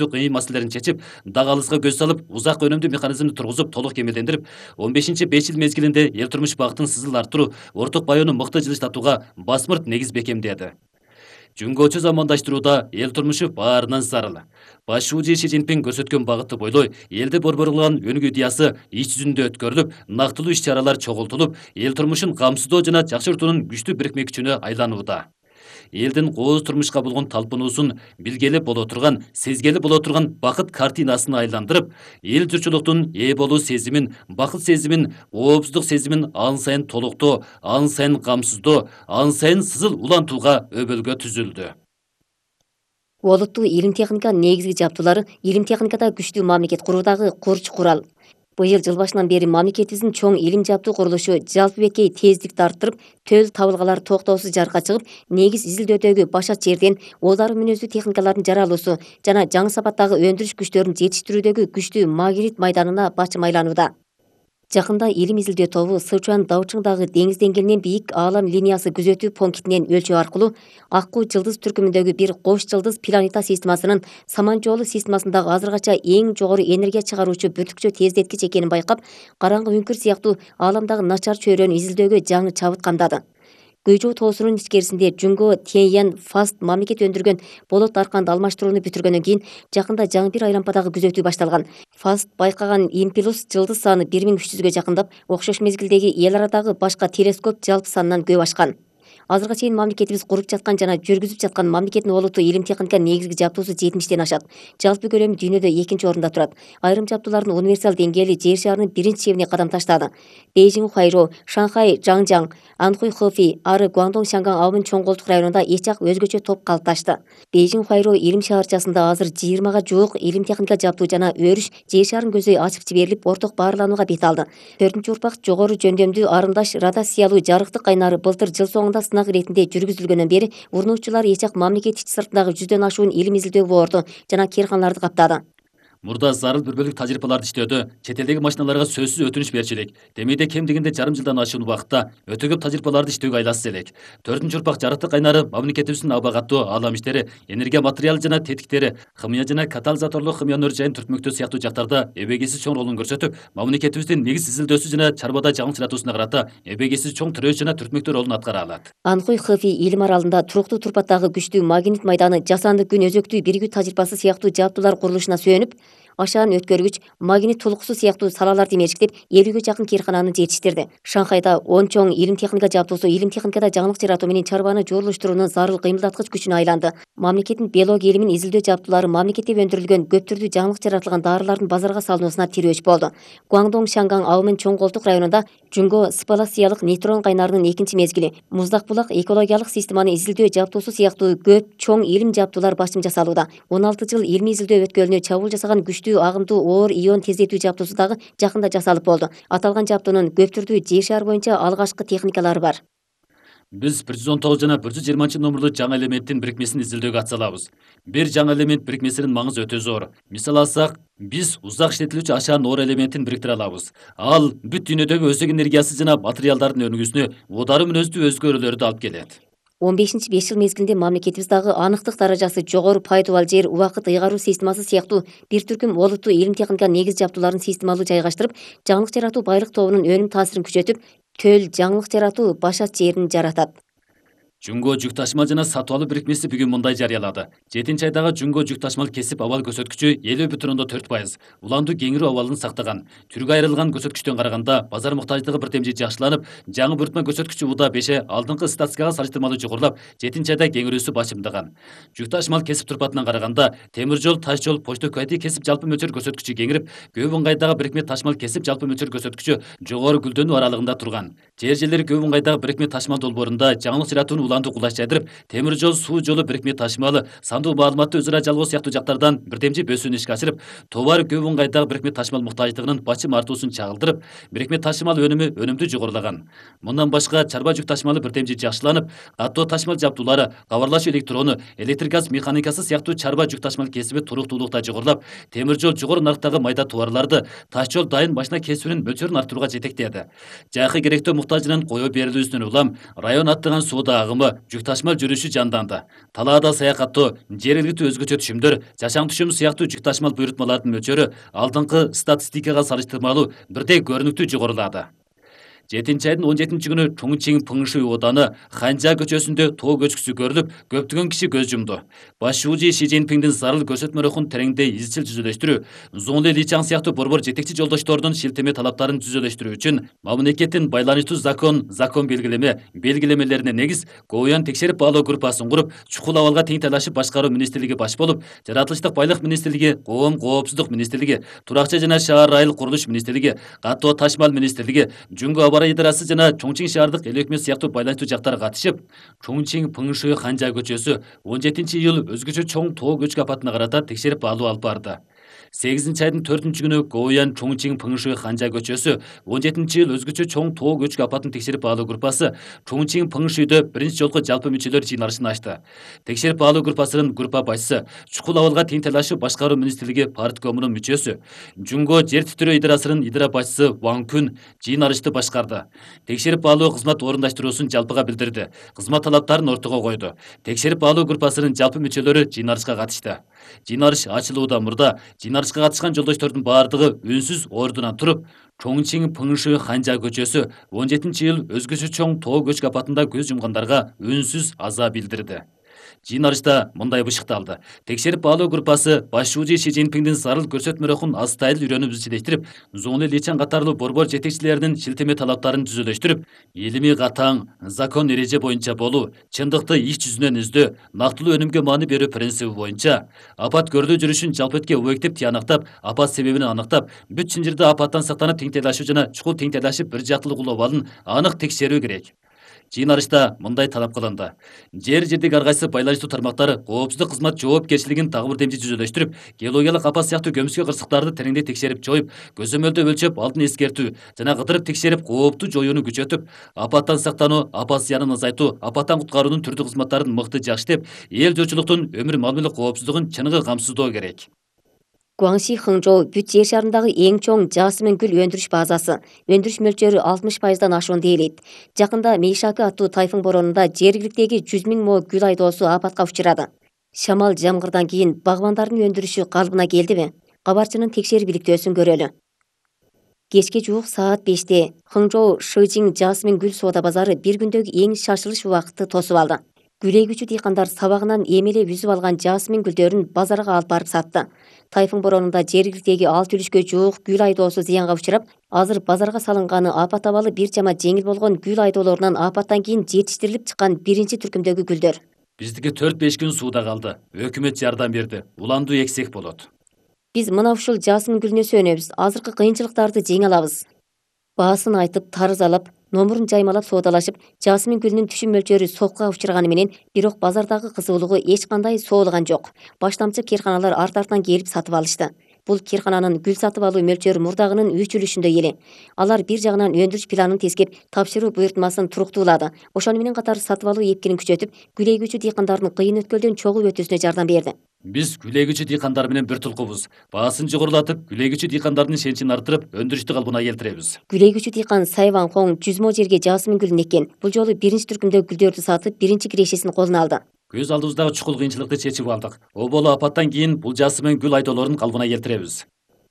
кыйын маселелерин чечип, дагы алыска көз салып, узак өнүмдүү механизмди тургузуп, толук кемелдендирип, 15-5 жыл мезгилинде эл турмуш багытын сызыл арттыруу, орток баяноо мыкты жылыштатууга басмырт негиз бекемдеди. Жөнгөчө замандаштырууда эл турмушу баарынан зарыл. Баш шүүжү Ши Цзиньпин көрсөткөн багытты бойлой, элди борборулаган өнүгүү идеясы иш жүзүндө өткөрүлүп, нактылуу иш-чаралар чогултулуп, эл турмушун камсыздоо жана жакшыртуунун күчтүү бирикме күчүнө айланууда. Элдин кооз турмушка болгон талпынуусун билгели боло турган, сезгели боло турган бакыт картинасына айландырып, эл журтчулуктун ээ болуу сезимин, бакыт сезимин, оопсуздук сезимин ан сайын толуктоо, ан сайын камсыздоо, ан сайын сызыл улантууга өбөлгө түзүлдү. Олуттуу илим техника негизги жаптуулары илим техникада күчтүү мамлекет куруудагы курч курал. Быйыл жыл башынан бери мамлекетибиздин чоң илим жаптуу курулушу жалпы беткей тездикти арттырып, төл табылгалар токтоосуз жарыкка чыгып, негиз изилдөөдөгү башат жерден оодару мүнөздүү техникалардын жаралуусу жана жаңы сапаттагы өндүрүш күчтөрүн жетиштирүүдөгү күчтүү магнит майданына бачым айланууда. Жакында илим изилдөө тобу Сычуан Даучыңдагы деңиз деңгээлинен бийик аалам линиясы күзөтүү пунктинен өлчөө аркылуу Аккуу жылдыз түркүмүндөгү бир кош жылдыз планета системасынын Саман жолу системасындагы азыркыча эң жогору энергия чыгаруучу бүртүкчө тездеткич экенин байкап, караңгы үңкүр сыяктуу ааламдагы начар чөйрөнү изилдөөгө жаңы чабыт камдады. Гөйжөө тоосунун ичкерисинде Жүнгө Тяньян Фаст мамлекет өндүргөн болот арканды алмаштырууну бүтүргөндөн кийин жакында жаңы бир айлампадагы күзөтүү башталган. Фаст байкаган импулс жылдыз саны 1300-гө жакындап, окшош мезгилдеги эл арадагы башка телескоп жалпы санынан көп ашкан. Азыркыга чейин мамлекетибиз куруп жаткан жана жүргүзүп жаткан мамлекеттин олуттуу илим техника негизги жаптуусу 70-тен ашат. Жалпы көлөмү дүйнөдө 2-нчи орунда турат. Айрым жаптуулардын универсал деңгээли жер шарынын 1-нчи чебине кадам таштады. Бейжиң Ухайжо, Шанхай Жаңжаң, Анхуй Хэфи ары Гуандong Шанган Аумын чоң колтук районунда эч ак өзгөчө топ калыпташты. Бейжиң Ухайжо илим шаарчасында азыр 20га жуук илим техника жаптуу жана өрүш жер шарын көзөй ачып жиберилип, орток баарланууга бет алды. 4-урпак жогору жөндөмдүү арымдаш радиациялуу жарыктык кайнары былтыр жыл соңунда сынак иретинде жүргүзүлгөндөн бери урнуучулар эч ак мамлекет ичи сыртындагы 100дөн ашуун илим изилдөө борду жана кээрканаларды каптады. Мурда зарыл бир бөлүк тажрыйбаларды иштөөдө чет элдеги машиналарга сөзсүз өтүнүч берчү элек. Демейде кем дегенде жарым жылдан ашуун убакытта өтө көп тажрыйбаларды иштөөгө айласыз элек. 4-урпак жарыктык кайнары мамлекетибиздин аба каттуу аалам иштери, энергия материалы жана тетиктери, химия жана катализаторлук химиянын өр жайын түртмөктөө сыяктуу жактарда эбегейсиз чоң ролун көрсөтүп, мамлекетибиздин негиз изилдөөсү жана чарбада жаңылык жаратуусуна карата эбегейсиз чоң тирөөч жана түртмөктөө ролун аткара алат. Анхуй Хэфи илим аралында туруктуу турпаттагы күчтүү магнит майданы, жасанды күн өзөктүү биригүү тажрыйбасы сыяктуу жаптуулар курулушуна сүйөнүп, ашаан өткөргүч, магнит тулуксу сыяктуу салаларды мерчиктеп, 50гө жакын кээркананы жетиштирди. Шанхайда 10 чоң илим техника жаптуусу илим техникада жаңылык жаратуу менен чарбаны жуурулуштуруунун зарыл кыймылдаткыч күчүнө айланды. Мамлекеттин биология илимин изилдөө жаптуулары мамлекетте өндүрүлгөн көп түрдүү жаңылык жаратылган дарылардын базарга салынуусуна тирөөч болду. Гуандong Шанган Аумын чоң колтук районунда Жүнгө спалациялык нейтрон кайнарынын 2-нчи мезгили, Муздак булак экологиялык системаны изилдөө жаптуусу сыяктуу көп чоң илим жаптуулар башым жасалууда. 16 жыл илимий изилдөө өткөлүнө чабуул жасаган күчтүү агымдуу оор ион тездетүү жаптуусу дагы жакында жасалып болду. Аталган жаптуунун көп түрдүү жер шаар боюнча алгачкы техникалары бар. Биз 119 жана 120 номерлуу жаңы элементтин бирикмесин изилдөөгө атсалабыз. Бир жаңы элемент бирикмесинин маңызы өтө зор. Мисал алсак, биз узак иштетилүүчү ашаан оор элементин бириктире алабыз. Ал бүт дүйнөдөгү өздүк энергиясы жана материалдардын өнүгүүсүнө оодару мүнөздүү өзгөрүүлөрдү алып келет. 15-5 жыл мезгилинде мамлекетибиз дагы анықтык даражасы жогору пайдубал жер убакыт ыйгаруу системасы сыяктуу бир түркүм олуттуу илим техника негиз жаптууларын системалуу жайгаштырып, жаңылык жаратуу байлык тобунун өнүм таасирин күчөтүп, төл жаңылык жаратуу башат жерин жаратат. Жүнгө жүк ташмал жана сатып алуу бирикмеси бүгүн мындай жарыялады. 7-айдагы Жүнгө жүк ташмал кесип абал көрсөткүчү 50,4%. Уландуу кеңирүү абалын сактаган. Түргө айрылган көрсөткүчтөн караганда базар муктаждыгы бир темжи жакшыланып, жаңы буйртма көрсөткүчү уда 5 алдыңкы статистикага салыштырмалуу жогорулап, 7-айда кеңирүүсү башымдаган. Жүк ташмал кесип турпатынан караганда темир жол, таш жол, почта кайты кесип жалпы мөлчөр көрсөткүчү кеңирип, көп ыңгайдагы бирикме ташмал кесип жалпы мөлчөр көрсөткүчү жогору гүлдөнүү аралыгында турган. Жер жерлери көп ыңгайдагы бирикме ташмал долбоорунда жаңылык жаратууну уландуу кулаш жайдырып, темир жол, суу жолу бирикме ташмалы, сандуу маалыматты өзара жалгоо сыяктуу жактардан бирдемчи бөсүүнү ишке ашырып, товар көп ыңгайдагы бирикме ташмал муктаждыгынын бачым артуусун чагылдырып, бирикме ташмал өнүмү жогорулаган. Мындан башка чарба жүк ташмалы бирдемчи жакшыланып, каттоо ташмал жаптуулары, кабарлашуу электрону, электр газ механикасы сыяктуу чарба жүк ташмал кесиби туруктуулукта жогорулап, темир жол жогору нарктагы майда товарларды, таш жол дайын машина кесибинин мөлчөрүн арттырууга жетектеди. Жайкы керектөө муктажынын коё берилүүсүнөн улам район аттаган соода агымы коому жүк ташмал жүрүшү жанданды. Талаада саякаттоо, жергиликтүү өзгөчө түшүмдөр, жашам түшүмү сыяктуу жүк ташмал буйрутмалардын мөлчөрү алдыңкы статистикага салыштырмалуу бирдей көрүнүктүү жогорулады. 7 айдын 17 күнү Чоңчиң Пыңшуй ооданы Ханжа көчөсүндө тоо көчкүсү көрүлүп, көптөгөн киши көз жумду. Баш шүүжи Ши Цзиньпиңдин зарыл көрсөтмөрөхүн тереңдей изчил жүзөлөштүрүү, Зуңли Личаң сыяктуу борбор жетекчи жолдоштордун шилтеме талаптарын жүзөлөштүрүү үчүн мамлекеттин байланыштуу закон белгилемелерине негиз Гоуян текшерип баалоо группасын куруп, чукул абалга тең талашып башкаруу министрлиги баш болуп, жаратылыштык байлык министрлиги, коопсуздук министрлиги, туракчы жана шаар айыл курулуш министрлиги, каттоо ташмал министрлиги, Жүнгө Абара идарасы жана Чоңчиң шаардык эл өкмөт сыяктуу байланыштуу жактар катышып, Чоңчиң Пыңшуй Ханжа көчөсү 17 июль өзгөчө чоң тоо көчкү апатына карата текшерип баалоо алып барды. 8 айдын 4 күнү Гоуян Чоңчиң Пыңшуй Ханжа көчөсү 17 июль өзгөчө чоң тоо көчкү апатын текшерип баалоо группасы Чоңчиң Пыңшуйдө биринчи жолку жалпы мүчөлөр жыйналышын ачты. Текшерип баалоо группасынын группа башчысы, чукул абалга тең талашып башкаруу министрлиги парткомунун мүчөсү, Жүнгө жер титирөө идарасынын идара башчысы Ван Күн жыйналышты башкарды. Текшерип баалоо кызмат орундаштыруусун жалпыга билдирди. Кызмат талаптарын ортого койду. Текшерип баалоо группасынын жалпы мүчөлөрү жыйналышка катышты. Жыйналыш ачылуудан мурда жыйналышка катышкан жолдоштордун баардыгы үнсүз ордунан туруп, Чоңчиң Пыңшуй Ханжа көчөсү 17 июль өзгөчө чоң тоо көчкү апатында көз жумгандарга үнсүз аза билдирди. Жыйналышта мындай бышыкталды. Текшерип баалоо группасы баш шүүжи Ши Цзиньпиңдин зарыл көрсөтмөрөхүн астайыл үйрөнүп изчилештирип, Зуңли Личаң катарлуу борбор жетекчилеринин шилтеме талаптарын түзөлөштүрүп, илимий катаң, закон эреже боюнча болуу, чындыкты иш жүзүнөн издөө, нактылуу өнүмгө маани берүү принциби боюнча апат көрүлүү жүрүшүн жалпыетке объектив тыянактап, апат себебин аныктап, бүт Чынжырда апаттан сактанып тең талашуу жана чукул тең талашып бир жактылык улоо абалын анык текшерүү керек. Жыйналышта мындай талап кылынды. Жердик ар кайсы байланыштуу тармактар коопсуздук кызмат жоопкерчилигин дагы бир демчи жүзөлөштүрүп, геологиялык апат сыяктуу көмүскө кырсыктарды тереңдей текшерип жоюп, көзөмөлдөө өлчөп, алдын эскертүү жана кыдырып текшерип кооптуу жоюуну күчөтүп, апаттан сактануу, апат зыянын азайтуу, апаттан куткаруунун түрдүү кызматтарын мыкты жакшытып, эл журтчулуктун өмүр мал-мүлк коопсуздугун чыныгы камсыздоо керек. Гуаңши Хыңжоу бүт жер шарындагы эң чоң жасмин гүл өндүрүш базасы. Өндүрүш мөлчөрү 60%дан ашуун дээлейт. Жакында Мейшаки аттуу тайфун боронунда жергиликтеги 100 000 мо гүл айдоосу апатка учурады. Шамал жамгырдан кийин багбандардын өндүрүшү калыбына келдиби? Кабарчынын текшерип иликтөөсүн көрөлү. Кечке жуук саат 5-те Хыңжоу Шыжиң жасмин гүл соода базары бир күндөгү эң шашылыш убакытты тосуп алды. Гүл эгүүчү дыйкандар сабагынан эмелеп үзүп алган жасмин гүлдөрүн базарга алып барып сатты. Тайфун боронунда жергиликтеги 6 үлүшкө жуук гүл айдоосу зыянга учурап, азыр базарга салынганы апат абалы бир жама жеңил болгон гүл айдоолорунан апаттан кийин жетиштирилип чыккан биринчи түркүмдөгү гүлдөр. Биздики 4-5 күн сууда калды. Өкмөт жардам берди. Уланду эксек болот. Биз мына ушул жасмин гүлүнө сүйөнөбүз. Азыркы кыйынчылыктарды жеңе алабыз. Баасын айтып, тарызалап, номурун жаймалап соодалашып, жасмин гүлүнүн түшүм мөлчөрү сокка учурганы менен, бирок базардагы кызуулугу эч кандай соолган жок. Баштамчы кирканалар арт-артынан келип сатып алышты. Бул киркананын гүл сатып алуу мөлчөрү мурдагынын 3 үлүшүндөй эле. Алар бир жагынан өндүрүш планын тескеп, тапшыруу буйртмасын туруктуулады. Ошону менен катар сатып алуу эпкинин күчөтүп, гүл эгүүчү дыйкандардын кыйын өткөлдөн чогуу өтүүсүнө жардам берди. Биз гүл эгүүчү дыйкандар менен бир тулкубуз. Баасын жогорулатып, гүл эгүүчү дыйкандардын ишеничин арттырып, өндүрүштү калыбына келтиребиз. Гүл эгүүчү дыйкан Сайван Хоң 100 мо жерге жасмин гүлүн эккен. Бул жолу биринчи түркүмдөгү гүлдөрдү сатып, биринчи кирешесин колуна алды. Көз алдыбыздагы чукул кыйынчылыкты чечип алдык. Оболу апаттан кийин бул жасмин гүл айдоолорун калыбына келтиребиз.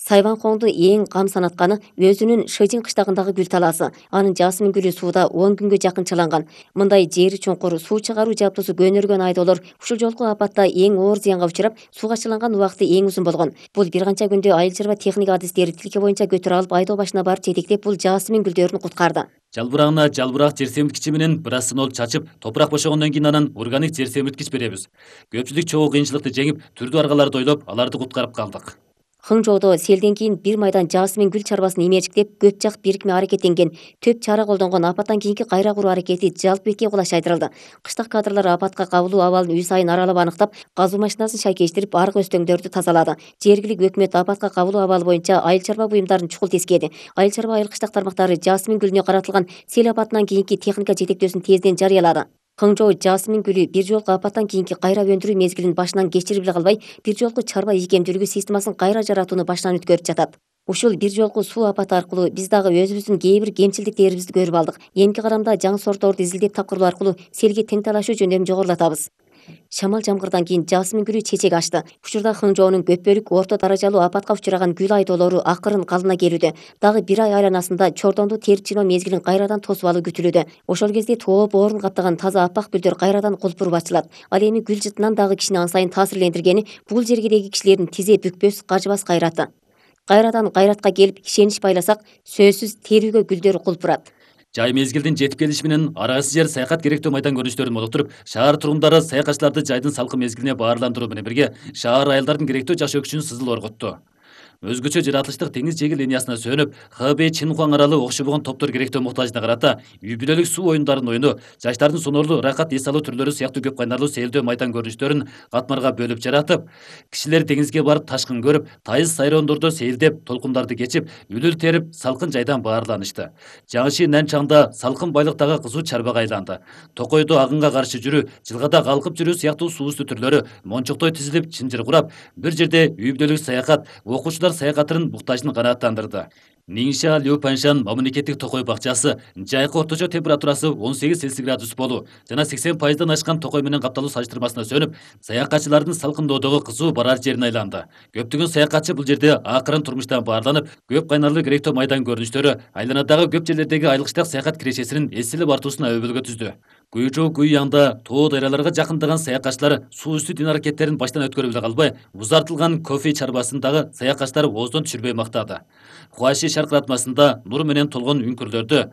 Сайван Хоңду эң кам санатканы өзүнүн Шыжиң кыштагындагы гүл талаасы. Анын жасмин гүлү сууда 10 күнгө жакын чыланган. Мындай жери чуңкур суу чыгаруу жабдуусу көнөргөн айдоолор ушул жолку апатта эң оор зыянга учурап, сууга чыланган убакыты эң узун болгон. Бул бир канча күндө айыл чарба техника адистери тилке боюнча көтөрө алып, айдоо башына барып жетектеп, бул жасмин гүлдөрүн куткарды. Жалбырагына жалбырак жер семирткичи менен брасинол чачып, топурак бошогондон кийин анан органик жер семирткич беребиз. Көпчүлүк чогуу кыйынчылыкты жеңип, түрдүү аргаларды ойлоп, аларды куткарып калдык. Хыңжоодо селден кийин бир майдан жасмин гүл чарбасын имерчиктеп, көп жак бирикме аракеттенген, төп чара колдонгон апаттан кийинки кайра куруу аракети жалпы бетке кулаш айдырылды. Кыштак кадрлар апатка кабылуу абалын үй сайын аралап аныктап, казуу машинасын шайкештирип, аркы өстөңдөрдү тазалады. Жергиликтүү өкмөт апатка кабылуу абалы боюнча айыл чарба буюмдарын чукул тескеди. Айыл чарба айыл кыштак тармактары жасмин гүлүнө каратылган сел апатынан кийинки техника жетектөөсүн тезден жарыялады. Хыңжоу жасмин гүлү бир жолку апаттан кийинки кайра өндүрүү мезгилин башынан кечирип эле калбай, бир жолку чарба ийкемдүүлүгү системасын кайра жаратууну баштан өткөрүп жатат. Ушул бир жолку суу апаты аркылуу биз дагы өзүбүздүн кээ бир кемчилдиктерибизди көрүп алдык. Эмки карамда жаңы сортторду изилдеп тапкыруу аркылуу селге тең талашуу жөндөмүн жогорулатабыз. Шамал жамгырдан кийин жасмин гүлү чечек ачты. Учурда Хыңжоонун көпбөлүк орто даражалуу апатка учураган гүл айдоолору акырын калына келүүдө. Дагы бир ай айланасында чордонду терип жиноо мезгилин кайрадан тосуп алуу күтүлүүдө. Ошол кезде тоо боорун каптаган таза аппак гүлдөр кайрадан кулпуруп ачылат. Ал эми гүл жытынан дагы кишини ан сайын таасирлендиргени бул жергедеги кишилердин тизе бүкпөс, кажыбас кайраты. Кайрадан кайратка келип ишенич байласак, сөзсүз терүүгө гүлдөр кулпурат. Жай мезгилдин жетип келиши менен арагысыз жер саякат керектүү майдан көрүнүштөрүн молуктуруп, шаар тургундары саякатчыларды жайдын салкын мезгилине баарландыруу менен бирге шаар айылдардын керектүү жашоо күчүн сызыл орготту. Өзгөчө жаратылыштык теңиз жээги линиясына сөнүп, Хэбэй Чинхуаң аралы окшобогон топтор керектүү муктажына карата үй бүлөлүк суу оюндарын ойноо, жаштардын соноорлуу ырахат эс алуу түрлөрү сыяктуу көп кайнарлуу сейилдөө майдан көрүнүштөрүн катмарга бөлүп жаратып, кишилер деңизге барып ташкын көрүп, тайыз сайрондордо сейилдеп, толкундарды кечип, үлүл терип, салкын жайдан баарланышты. Жаңыши Нанчаңда салкын байлыктагы кызуу чарбага айланды. Токойдо агынга каршы жүрүү, жылгада калкып жүрүү сыяктуу суу үстү түрлөрү мончоктой тизилип, чынжыр курап, бир жерде үй бүлөлүк саякат, окуучулар саякатынын буктажын канааттандырды. Ниңша Лю-Паньшан мамлекеттик токой бакчасы жайкы орточо температурасы 18 Цельсий градус болуу жана 80% ашкан токой менен капталуу салыштырмасына сөнүп, саякатчылардын салкындоодогу кызуу барар жерине айланды. Көптөгөн саякатчы бул жерде акырын турмуштан баарланып, көп кайнарлуу керектүү майдан көрүнүштөрү айланадагы көп жерлердеги айылкычтак саякат кирешесинин эсилип артуусуна өбөлгө түздү. Гуйжоу Гуйяңда тоо даряларга жакындаган саякатчылар суу үстү дин аракеттерин баштан өткөрүп эле калбай, узартылган кофе чарбасындагы саякатчылар ооздон түшүрбөй мактады. Хуаши шаркыратмасында нур менен толгон үңкүрлөрдө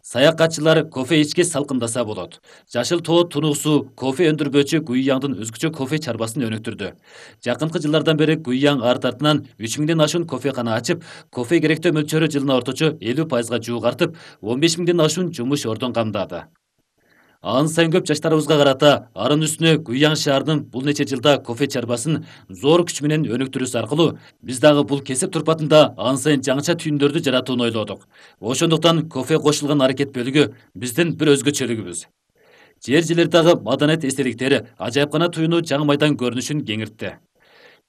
саякатчылар кофе ичкеч салкындаса болот. Жашыл тоо тунуусу кофе өндүрбөөчү Гуйяңдын өзгөчө кофе чарбасын өнүктүрдү. Жакынкы жылдардан бери Гуйяң арт артынан 3000ден ашуун кофекана ачып, кофе керектөө мөлчөрү жылына орточо 50%га жуук артып, 15000ден ашуун жумуш ордун камдады. Ан сайын көп жаштарыбызга карата арын үстүнө Гуйяң шаарынын бул нече жылда кофе чарбасын зор күч менен өнүктүрүүсү аркылуу биз дагы бул кесип турпатында ан сайын жаңыча түйүндөрдү жаратууну ойлодук. Ошондуктан кофе кошулган аракет бөлүгү биздин бир өзгөчөлүгүбүз. Жер-жерлердагы маданият эстеликтери ажайыпкана туюну жаңы майдан көрүнүшүн кеңиртти.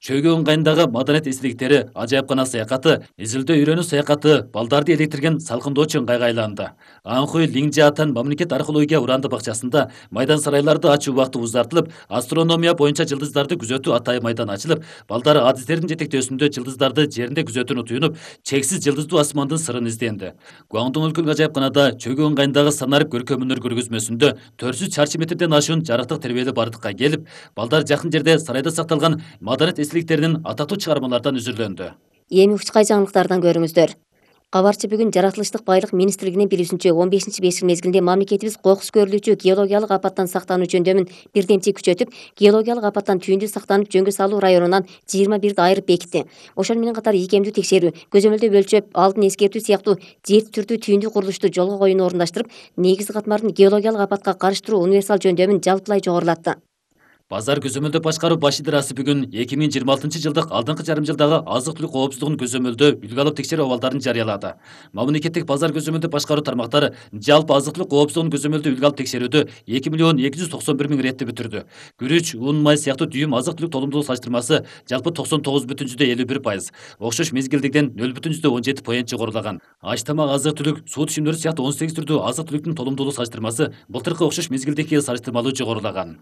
Чөгүү ыңгайындагы маданият эстеликтери ажайыпкана саякаты, изилдөө үйрөнүү саякаты балдарды электирген салкындоочу ыңгайга айланды. Анхуй Лиңжаатан мамлекет археология уранды бакчасында майдан сарайларды ачуу убакыты узартылып, астрономия боюнча жылдыздарды күзөтүү атайын майдан ачылып, балдар адистердин жетектөөсүндө жылдыздарды жеринде күзөтүүнү туюнуп, чексиз жылдыздуу асмандын сырын изденди. Гуаңдун өлкөлүк ажайыпканада чөгүү ыңгайындагы санарып көркөм өнөр көргөзмөсүндө 400 чарчы метрден ашуун жарыктык тербелүү бардыкка келип, балдар жакын жерде сарайда сакталган маданият эстеликтеринин атактуу чыгармалардан үзүрлөндү. Эми учкай жаңылыктардан көрүңүздөр. Кабарчы бүгүн Жаратылыштык байлык министрлигинин билүүсүнчө 15-бешил мезгилинде мамлекетибиз кокус көрүлүүчү геологиялык апаттан сактануу жөндөмүн бирдемчи күчөтүп, геологиялык апаттан түйүндү сактанып жөнгө салуу районунан 21 айырып бекитти. Ошону менен катар ийкемдүү текшерүү, көзөмөлдөө өлчөп, алдын эскертүү сыяктуу жети түрдүү түйүндү курулушту жолго коюуну орундаштырып, негизги катмардын геологиялык апатка каршы туруу универсал жөндөмүн жалпылай жогорулатты. Базар көзөмөлдөө башкаруу баш идарасы бүгүн 2026 жылдык алдыңкы жарым жылдагы азык-түлүк коопсуздугун көзөмөлдөө үлгү алып текшерүү абалдарын жарыялады. Мамлекеттик базар көзөмөлдөө башкаруу тармактары жалпы азык-түлүк коопсуздугун көзөмөлдөө үлгү алып текшерүүдө 2.291.000 ретти бүтүрдү. Күрүч, un, май сыяктуу дүйүм азык-түлүк толумдуулук салыштырмасы жалпы 99,51%, окшош мезгилдегиден 0,17% жогорулаган. Аш тамак азык-түлүк, суу түшүмдөрү сыяктуу 18 түрдүү азык-түлүктүн толумдуулук салыштырмасы былтыркы окшош мезгилдеги салыштырмалуу жогорулаган.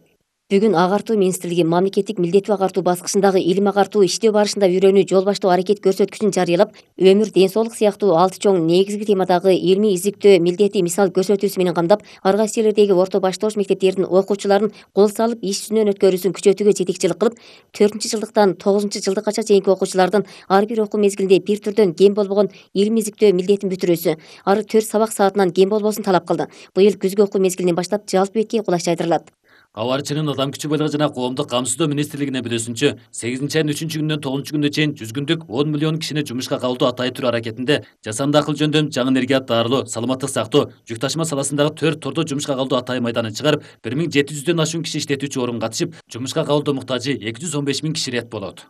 Бүгүн агартуу министрлиги мамлекеттик милдеттүү агартуу баскычындагы илим агартуу иштөө барышында үйрөнүү жол баштоо аракет көрсөткүчүн жарыялап, өмүр, ден соолук сыяктуу 6 чоң негизги темадагы илимий изилдөө милдети мисал көрсөтүүсү менен камдап, ар кайсы жерлердеги орто баштоош мектептердин окуучуларын кол салып иш жүзүнөн өткөрүүсүн күчөтүүгө жетекчилик кылып, 4-жылдыктан 9-жылдыккача чейинки окуучулардын ар бир окуу мезгилинде бир түрдөн кем болбогон илим изилдөө милдетин бүтүрүүсү, ары 4 сабак саатынан кем болбосун талап кылды. Быйыл күзгү окуу мезгилинен баштап жалпы бетке кулаш жайдырылат. Кабарчынын адам күчү байлыгы жана коомдук камсыздоо министрлигинин билүүсүнчө, 8-айдын 3-күнүнөн 9-күнүнө чейин 100 күндүк 10 миллион кишини жумушка кабылдоо атайын түрү аракетинде жасанды акыл жөндөм, жаңы энергият даарылоо, саламаттык сактоо, жүк ташыма саласындагы 4 тордо жумушка кабылдоо атайын майданын чыгарып, 1700дөн ашуун киши иштетүүчү орун катышып, жумушка кабылдоо муктажы 215.000 киши рет болот.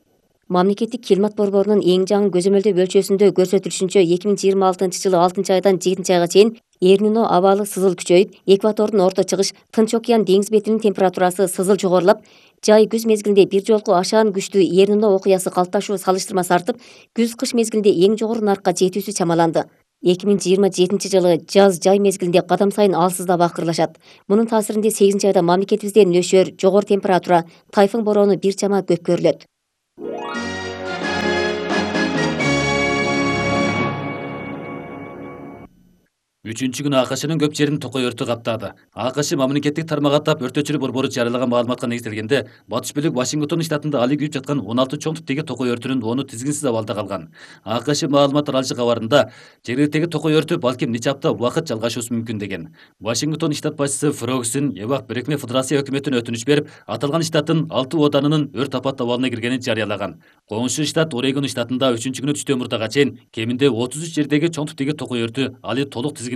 Мамлекеттик климат борборунун эң жаңы көзөмөлдөө бөлчөсүндө көрсөтүлүшүнчө 2026-жылы 6-айдан 7-айга чейин Эрнино абалы сызыл күчөйүп, экватордун орто чыгыш, Тынч океан деңиз бетинин температурасы сызыл жогорулап, Жай күз мезгилинде бир жолку ашаан күчтүү эрнуна окуясы калыпташуу салыштырмасы артып, күз-кыш мезгилинде эң жогору наркка жетүүсү чамаланды. 2027 жылы жаз-жай мезгилинде кадам сайын алсыздап акырылышат. Мунун таасиринде 8 айда мамлекетибизде нөшөр, жогору температура, тайфун бороону бир чама көп көрүлөт. Үчүнчү күнү АКШнын көп жерин токой өртү каптады. АКШ мамлекеттик тармак аттап өртөчүлүк борбору жарыялаган маалыматка негизделгенде, батыш бөлүк Вашингтон штатында али күйүп жаткан 16 чоң типтеги токой өртүнүн 10-у тизгинсиз абалда калган. АКШ маалымат таралышы кабарында жергиликтеги токой өртү балким нече апта убакыт жалгашуусу мүмкүн деген. Вашингтон штат башчысы Фрогсин Эбак Бирикме Федерация өкмөтүнө өтүнүч берип, аталган штаттын 6 оданынын өрт апат абалына киргенин жарыялаган. Коңшу штат Орегон штатында 3-күнү түштөн мурдага чейин кеминде 33 жердеги чоң типтеги токой өртү али толук